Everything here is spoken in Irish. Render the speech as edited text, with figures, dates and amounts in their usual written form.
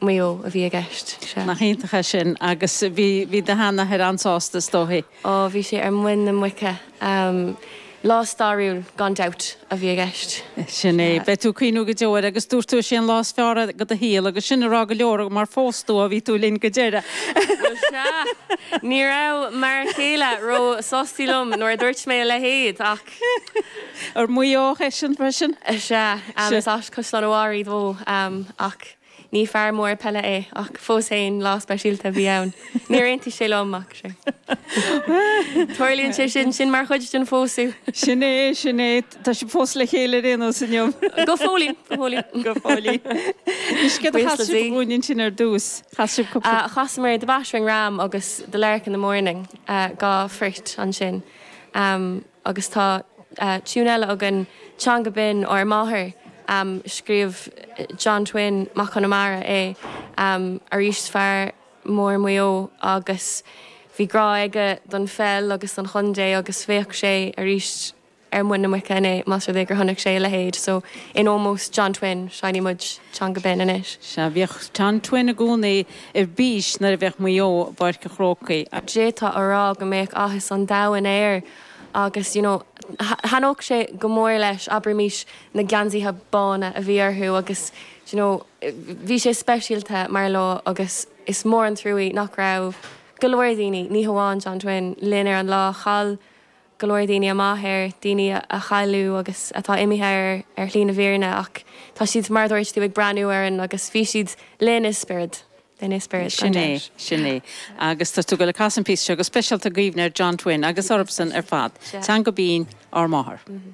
Mhaigh Eo a bhí i gceist, sea. Nach iontach é sin agus bhí, bhí do sheanathair an-sásta is dóichí. Ó, bhí sé ar muin na muice. Lá stairiúil, gan dabht, a bhí i gceist. Sin é. Beidh tú ag cuimhniú go deo air agus dúirt tú is é an lá is fearr de do shaol agus sin a rá go leor mar phós tú ó bhí tú linn go deireadh. Bhuel, sea. Ní raibh m'fhear céile ró-sásta liom nuair a dúirt mé a leithéid ach. Ar Mhaigh Eo eisean freisin? Sea. Is as Caisleán an Bharraigh dó ach ní fear mór peile é ach fós féin lá speisialta a bhí ann. Níor aontaigh sé liom ach sure. Tarlaíonn sé sin, sin mar chuid den phósadh. Sin é, sin é. Tá sibh fós le chéile ar aon nós inniu. Go fóillín, go fóillín. Go fóillín. Anois céard a chas sibh dhúinn ansin ar dtús? Chas sibh cúpla. Chasamar The Battering Ram agus The Lark in the Morning, dá phort ansin. Agus tá tiún eile againn, Teanga Binn Ár Máthair, scríobh John Twin Mac Conamara é, arís fear mór Mhaigh Eo agus bhí grá aige don pheil agus don chontae agus bheadh sé arís ar muin na muice inné más rud é gur chonaic sé a leithéid. So in ómós John Twin, seinnfidh muid Teanga Binn anois. Sea, bhíodh John Twin i gcónaí ar bís nuair a bheadh Maigh Eo i bPáirc an Chrócaigh. D'fhéadfá a rá go mbeadh áthas an domhain air agus you know thaitneodh sé go mór leis, abraimis, na geansaithe bána a bhí orthu agus you know bhí sé speisialta mar lá agus is mór an truaí nach raibh go leor daoine, ní hamháin John Twin, linn ar an lá. Chaill go leor daoine a máthair, daoine a cailleadh agus atá imithe ar ar shlí na bhfírinne ach tá siad, mar a dúirt tú, ag breathnú orainn agus bhí siad linn i spiorad, linn i spiorad, gan Sin é, dabht. sin é. Agus tá tú ag goil ag casadh an píosa seo go speisialta i gcuimhne ar John Twin agus orthusan ar fad. Teanga Binn, ár máthair.